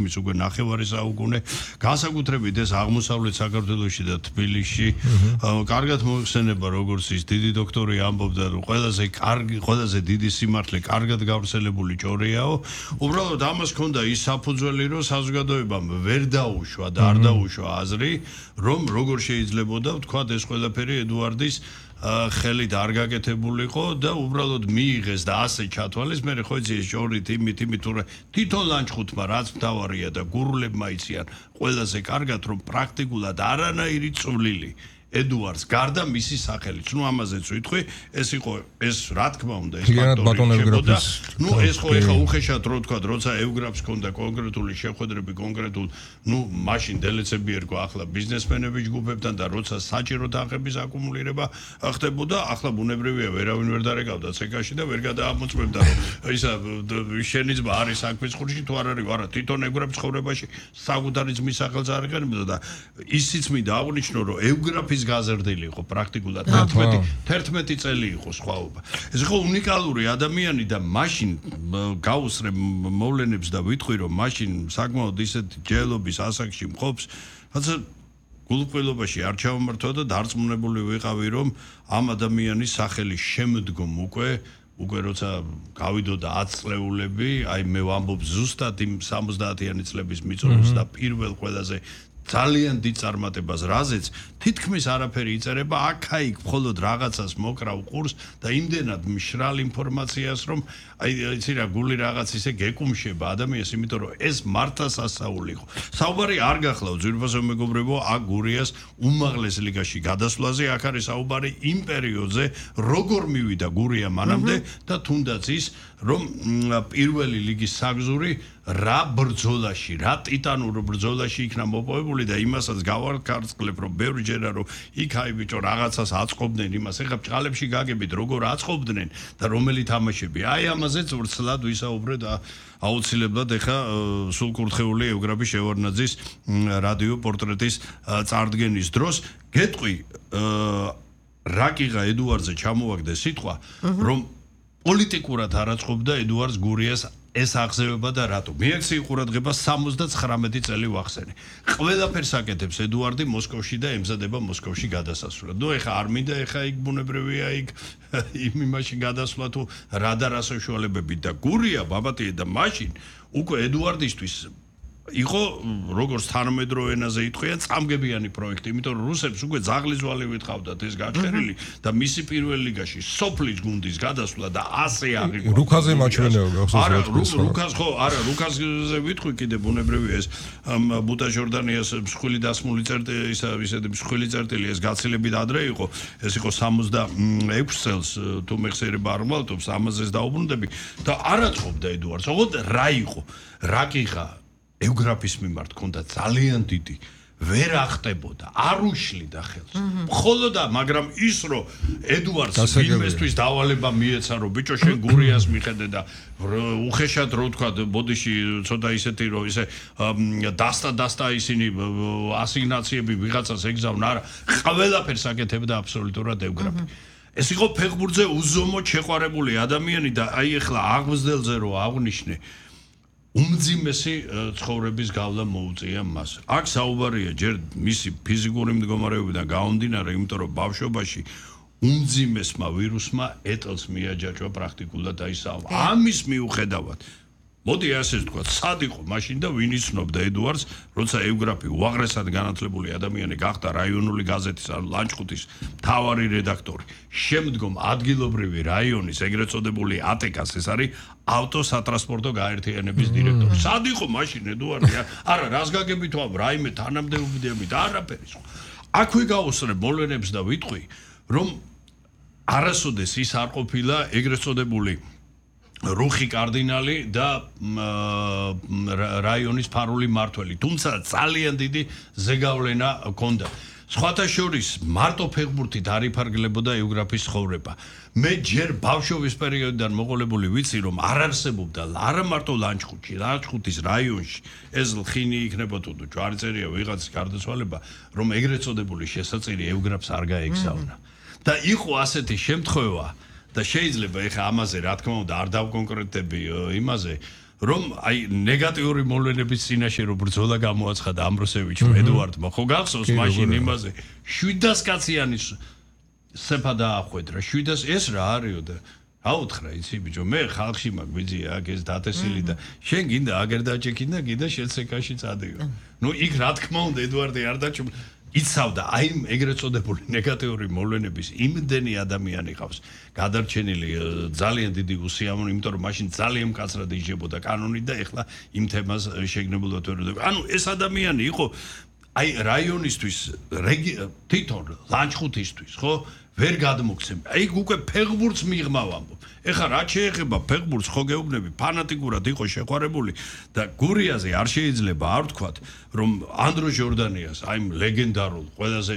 მის უკვე ნახევარი საუკუნე განსაკუთრებით ეს აღმოსავლეთ საქართველოში და თბილისში კარგად მოიხსენება როგორც ის დიდი დოქტორი ამბობდა რომ ყველაზე დიდი სიმართლე კარგად გავრცელებული ჭორიაო უბრალოდ ამას ჰქონდა ის საფუძველი რომ საზოგადოებამ ვერ დაუშვა და არ დაუშვა აზრი რომ როგორ შეიძლებოდა ვთქვათ ეს ყველაფერი ედუარდის ხელით არ გაკეთებულიყო და უბრალოდ მიიღეს და ასე ჩათვალეს მე ხო იცი ეს ჭორით იმით თვითონ ლანჩხუთმა რაც მთავარია და გურულებმა იციან ყველაზე კარგად რომ პრაქტიკულად არანაირი წვლილი ედუარდს გარდა მისი სახელით ნუ ამაზეც ვიტყვი ეს იყო ეს რა თქმა უნდა ეს ფაქტორი ნუ ეს ხო ეხა უხეშად რო თქვა როცა ევგრაფს ჰქონდა კონკრეტული შეხვედრები კონკრეტულ ნუ მაშინ დელეცები ერქვა ახლა ბიზნესმენების ჯგუფებთან და როცა საჭირო თანხების აკუმულირება ხდებოდა ახლა ბუნებრივია ვერავინ ვერ დარეკავდა ცეკაში და ვერ გადაამოწმებდა რომ ისა შენი ძმა არის საქმის ხურში თუ არ არის არა თვითონ ევგრაფის ცხოვრებაში საკუთარი ძმის სახელს არ იყენებდა და ისიც მინდა აღნიშნო რომ ევგრაფის გაზრდილი იყო პრაქტიკულად 11 წელი იყო სხვაობა. ეს იყო უნიკალური ადამიანი და მაშინ გაუსრებ მოვლენებს და ვიტყვი რომ მაშინ საკმაოდ ისეთი ჯელობის ასაკში მყოფს, რაცა გულუყვილობაში არ ჩავმართვა და დარწმუნებული ვიყავი რომ ამ ადამიანის სახელი შემდგომ უკვე როცა გავიდოდა 10 წლეულები, აი მე ვამბობ ზუსტად იმ 70-იანი წლების მიწურულს და პირველ ყველაზე ძალიან დიდ წარმატებას რაზეც თითქმის არაფერი იწერება აქ-აიქ მხოლოდ რაღაცას მოკრავ ყურს და იმდენად მშრალ ინფორმაციას რომ აი იცი რა გული რაღაც ისე გეკუმშება ადამიანს იმიტომ რომ ეს მართლა სასაული იყო საუბარი არ გახლავ ძვირფასო მეგობრებო აქ გურიას უმაღლეს ლიგაში გადასვლაზე აქ არის საუბარი იმ პერიოდზე როგორ მივიდა გურია მანამდე და თუნდაც ის რომ პირველი ლიგის საგზური რა ბრძოლაში რა ტიტანურ ბრძოლაში იქნა მოპოვებული და იმასაც გავარკვევ რომ ბევრი ჯერა რომ იქ აი ბიჭო რაღაცას აწყობდნენ იმას ეხლა ბჭყალებში გაგებით როგორ აწყობდნენ და რომელი თამაშები აი ამაზეც ვრცლად ვისაუბრე და აუცილებლად ეხლა სულკურთხეული ევგრაფი შევარნაძის რადიო პორტრეტის წარდგენის დროს გეტყვი რაკიღა ედუარდზე ჩამოვაგდე სიტყვა რომ პოლიტიკურად არაწყობდა ედუარდს გურიას ეს აღზევება და რატო მიექცი ყურადღება 79 წელი ვახსენე ყველაფერს აკეთებს ედუარდი მოსკოვში და ემზადება მოსკოვში გადასასვლელად ნუ ეხა არ მინდა ეხა იქ ბუნებრივია იქ იმაში გადასვლა თუ რა და რა საშუალებები და გურია ბაბატია და მაშინ უკვე ედუარდისთვის იყო როგორც თანამედროვე ენაზე იტყვიან წამგებიანი პროექტი იმიტომ რომ რუსებს უკვე ძაღლის ვალივით ყავდათ ეს გაჩერილი და მისი პირველ ლიგაში სოფლის გუნდის გადასვლა და ასე აღიქვამს რუკაზე მაჩვენეობა რუკას ხო არა რუკაზე ვიტყვი კიდე ბუნებრივია ეს ბუტა ჟორდანიას მსხვილი დასმული წერტილი ისეთი მსხვილი წერტილი ეს გაცილებით ადრე იყო ეს იყო 66 წელს თუ მეხსიერება არ მალტობს ამაზეც დაუბრუნდები და არაწყობდა ედუარდს ოღონდ რა იყო რა კიხა ევგრაფის მიმართ ქონდა ძალიან დიდი ვერ ახტებოდა არ უშლიდა ხელს მხოლოდ მაგრამ ის რომ ედუარდს ვინმესთვის დავალება მიეცა რომ ბიჭო შენ გურიას მიხედე და უხეშად რო თქვა ბოდიში ცოტა ისეთი რომ ისე დასტა ისინი ასიგნაციები ვიღაცას ეგზავნა არა ყველაფერს აკეთებდა აბსოლუტურად ევგრაფი ეს იყო ფეხბურთზე უზომოდ შეყვარებული ადამიანი და აი ეხლა აღმზრდელზე რო აღნიშნე უმძიმესი ცხოვრების გავლა მოუწია მას. აქ საუბარია ჯერ მისი ფიზიკური მდგომარეობიდან გამომდინარე, იმიტომ რომ ბავშვობაში უმძიმესმა ვირუსმა ეტელს მიაჯაჭვა პრაქტიკულად დაისავა. ამის მიუხედავად მოდი ასე ვთქვა, სად იყო მაშინ და ვინ იცნობდა ედუარდს, როცა ევგრაფი უაღრესად განათლებული ადამიანი გახდა რაიონული გაზეთის ან ლანჩხუთის მთავარი რედაქტორი. შემდგომ ადგილობრივი რაიონის ეგრეთ წოდებული ატეკას ეს არის ავტოსატრანსპორტო გაერთიანების დირექტორი. სად იყო მაშინ ედუარდი? არა, რას გაგებით ვამ, რაიმე თანამდებობებით, არაფერი სხვა. აქვე გავუსწრებ მოვლენებს და ვიტყვი, რომ არასოდეს ის არ ყოფილა ეგრეთ წოდებული რუხი კარდინალი და რაიონის ფარული მმართველი. თუმცა ძალიან დიდი ზეგავლენა ჰქონდა. სხვათა შორის მარტო ფეხბურთით არ იფარგლებოდა ევგრაფის ცხოვრება. მე ჯერ ბავშვობის პერიოდიდან მოყოლებული ვიცი რომ არ არსებობდა არა მარტო ლანჩხუთში, ლანჩხუთის რაიონში ეს ლხინი იქნებოდა თუ ჯვარწერია ვიღაცის გარდაცვალება, რომ ეგრეთ წოდებული შესაწირი ევგრაფს არ გაეგზავნა. და იყო ასეთი შემთხვევა და შეიძლება ეხა ამაზე რა თქმა უნდა არ დავკონკრეტები იმაზე რომ აი ნეგატიური მოვლენების წინაშე რო ბრძოლა გამოაცხადა ამბროსევიჩმა ედუარდმა ხო გახსოვს მაშინ იმაზე 700 კაციანი სეფა დაახვედრა 700 ეს რა არისო და აუთხრა იცი ბიჭო მე ხალხში მაგვიძია აქ ეს დათესილი და შენ გინდა აგერ დაჭექინდა გინდა შეცეკაში წადიო ნუ იქ რა თქმა უნდა ედუარდი არ დაჭო იცავდა აი ეგრეთ წოდებული ნეგატიური მოვლენების იმდენი ადამიანი ყავს გადარჩენილი ძალიან დიდი უსიამოვნო იმიტომ რომ მაშინ ძალიან მკაცრად იჯებოდა კანონით და ეხლა იმ თემას შეგნებულად ვეროდები ანუ ეს ადამიანი იყო აი რაიონისთვის თვითონ ლანჩხუთისთვის ხო ვერ გადმოგცემ აი უკვე ფეხბურთს მიღმა ვამბობ ეხლა რა შეეხება ფეხბურთს ხო გეუბნები ფანატიკურად იყო შეყვარებული და გურიაზე არ შეიძლება არ ვთქვათ რომ ანდრო ჟორდანიას აი ლეგენდარულ ყველაზე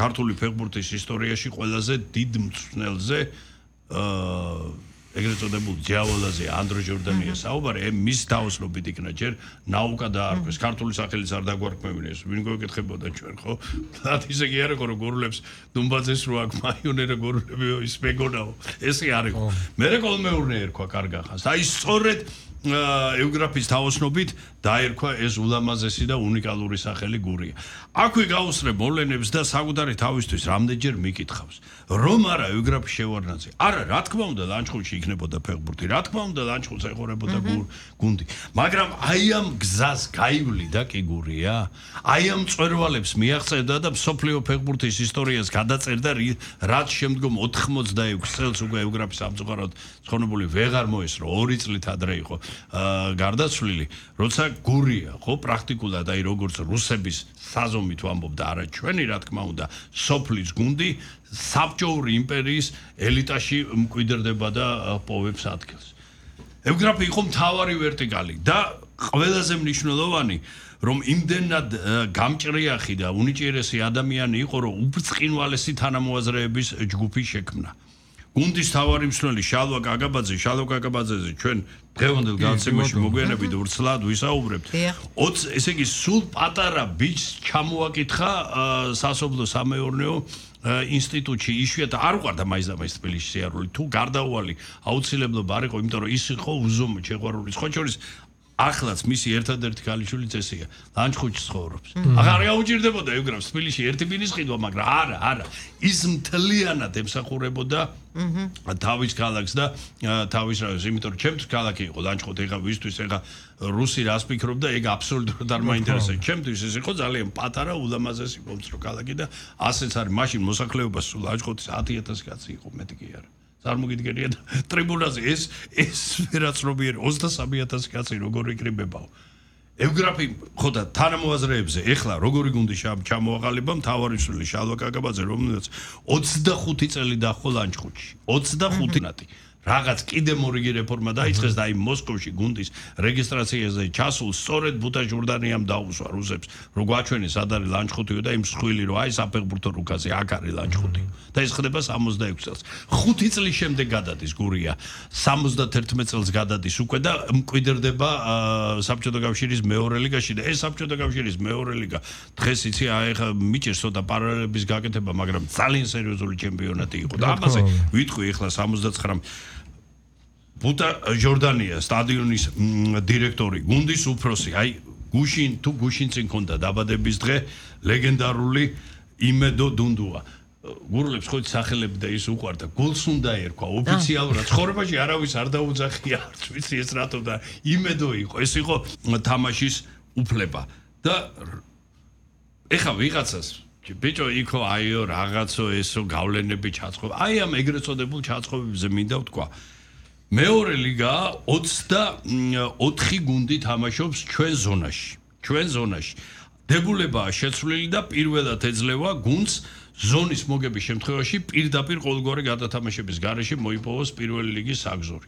ქართული ფეხბურთის ისტორიაში ყველაზე დიდ მწვრთნელზე ეგრეთ წოდებულ დიავალაზე ანდრო ჟორდანიას საუბარი მის დაოსნობით იქნა ჯერ ნაუკა დაარქვეს ქართული სახელიც არ დაგვარქმევინეს ვინ გვეკითხებოდა ჩვენ ხო და ისე კი არ იყო რომ გურულებს დუმბაძეს რო აქ მაიონერა გურულები ის მეგონაო ესე არ იყო მე რეკოლმეურნე ერქვა კარგახანს აი სწორედ ევგრაფის დაოსნობით დაერქვა ეს ულამაზესი და უნიკალური სახელი გურია აქვე გაუსწრებ მოვლენებს და საკუთარი თავისთვის რამდენჯერ მიკითხავს რომ არა ევგრაფი შევარნაძე არა რა თქმა უნდა ლანჩხუთში იქნებოდა ფეხბურთი რა თქმა უნდა ლანჩხუთს ეხურებოდა გუნდი მაგრამ აი ამ გზას გაივლიდა კი გურია აი ამ წვერვალებს მიაღწევდა და მსოფლიო ფეხბურთის ისტორიას გადაწერდა რაც შემდგომ 86 წელს უკვე ევგრაფის სამწუხაროდ ცხონებული ვეღარ მოესწრო 2 წლით ადრე იყო გარდაცვლილი როცა გურია ხო პრაქტიკულად აი როგორც რუსების საზომით ვამბობ და არა ჩვენი რა თქმა უნდა სოფლის გუნდი საბჭოური იმპერიის ელიტაში მკვიდრდება და პოვებს ადგილს ევგრაფი იყო მთავარი ვერტიკალი და ყველაზე მნიშვნელოვანი რომ იმდენად გამჭრიახი და უნიჭიერესი ადამიანი იყო რომ უბრწყინვალესი თანამოაზრეების ჯგუფი შექმნა გუნდის თავარი მსვლელი შალვა კაკაბაძეზე ჩვენ დღევანდელ განაცემაში მოგვიანებით ვრცლად ვისაუბრებთ 20 ესე იგი სულ პატარა ბიჭს ჩამოაკითხა სასოფლო სამეურნეო ინსტიტუტში იშვიათად არ უყარდა მაინც თბილისში სიარული თუ გარდაუვალი აუცილებლობა არ იყო იმიტომ რომ ის იყო უზომო შეყვარული სხვა შორის ახლაც მისი ერთადერთი ქალიშვილი წესია ლანჩხუთში ცხოვრობს აღარ გაუჭირდებოდა ევგრაფს თბილისში ერთი ბინის ყიდვა მაგრამ არა ის მთლიანად ემსახურებოდა თავის ქალაქს და თავის რაიონს იმიტომ რომ ჩემთვის ქალაქი იყო ლანჩხუთი ეხა ვისთვის ეხა რუსი რას ფიქრობდა ეგ აბსოლუტურად არ მაინტერესებს ჩემთვის ეს იყო ძალიან პატარა ულამაზესი მომცრო ქალაქი და ასეც არის მაშინ მოსახლეობა სულ ლანჩხუთის 10000 კაცი იყო მეტი კი არა წარმოგიდგენია ტრიბუნაზე ეს ვერაცნობიერი 23000 კაცი როგორ იკრიბებაო ევგრაფი ხო და თანამოაზრეებზე ეხლა როგორი გუნდი ჩამოაყალიბა მთავარი მსვლელი შალვა კაკაბაძე რომელიც 25 წელი დაჰყო ლანჩხუთში 25 ნატი რაღაც კიდე მორიგი რეფორმა დაიწყეს და აი მოსკოვში გუნდის რეგისტრაციაზე ჩასულ სწორედ ბუტა ჟორდანიამ დაუსვა რუსებს რო გვაჩვენეს სად არის ლანჩხუთიო და იმ მსხვილი რო აი საფეხბურთო რუკაზე აქ არის ლანჩხუთი და ეს ხდება 66 წელს 5 წლის შემდეგ გადადის გურია 71 წელს გადადის უკვე და მკვიდრდება საბჭოთა კავშირის მეორე ლიგაში და ეს საბჭოთა კავშირის მეორე ლიგა დღეს იცი აი ხა მიჭერს ცოტა პარალელების გაკეთება მაგრამ ძალიან სერიოზული ჩემპიონატი იყო და ამაზე ვიტყვი ეხლა 79 ბუტა ჟორდანია სტადიონის დირექტორი გუნდის უფროსი აი გუშინ თუ გუშინ წინ ქონდა დაბადების დღე ლეგენდარული იმედო დუნდუა გურულებს ხო სახელები და ის უყვარდა გულს უნდა ერქვა ოფიციალურად ცხოვრებაში არავის არ დაუძახია არც ვიცი ეს რატო და იმედო იყო ეს იყო თამაშის უფლება და ეხა ვიღაცას ბიჭო იქო აიო რაღაცო ესო გავლენები ჩაწყობა აი ამ ეგრეთ წოდებულ ჩაწყობებზე მინდა ვთქვა მეორე ლიგა 24 გუნდი თამაშობს ჩვენ ზონაში დებულებაა შეცვლილი და პირველად ეძლევა გუნდს ზონის მოგების შემთხვევაში პირდაპირ ყოველგვარი გადათამაშების გარეშე მოიპოვოს პირველი ლიგის საგზური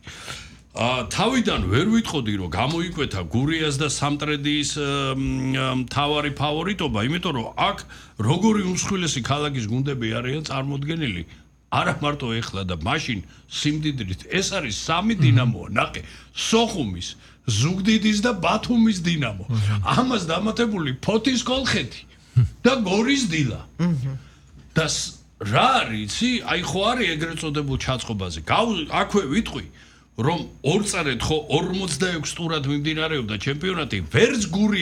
თავიდან ვერ ვიტყოდი რომ გამოიკვეთა გურიას და სამტრედიის მთავარი ფავორიტობა იმიტომ რომ აქ როგორი უმსხვილესი ქალაქის გუნდები არიან წარმოდგენილი არა მარტო ეხლა და მაშინ სიმდიდრით ეს არის 3 დინამოა ნახე სოხუმის ზუგდიდის და ბათუმის დინამო ამას დამატებული ფოთის კოლხეთი და გორის დილა და რა არის იცი აი ხო არის ეგრეთ წოდებულ ჩაწყობაზე აქვე ვიტყვი რომ ორ წარეთ ხო 46 ტურად მიმდინარეობდა ჩემპიონატი, ვერც გური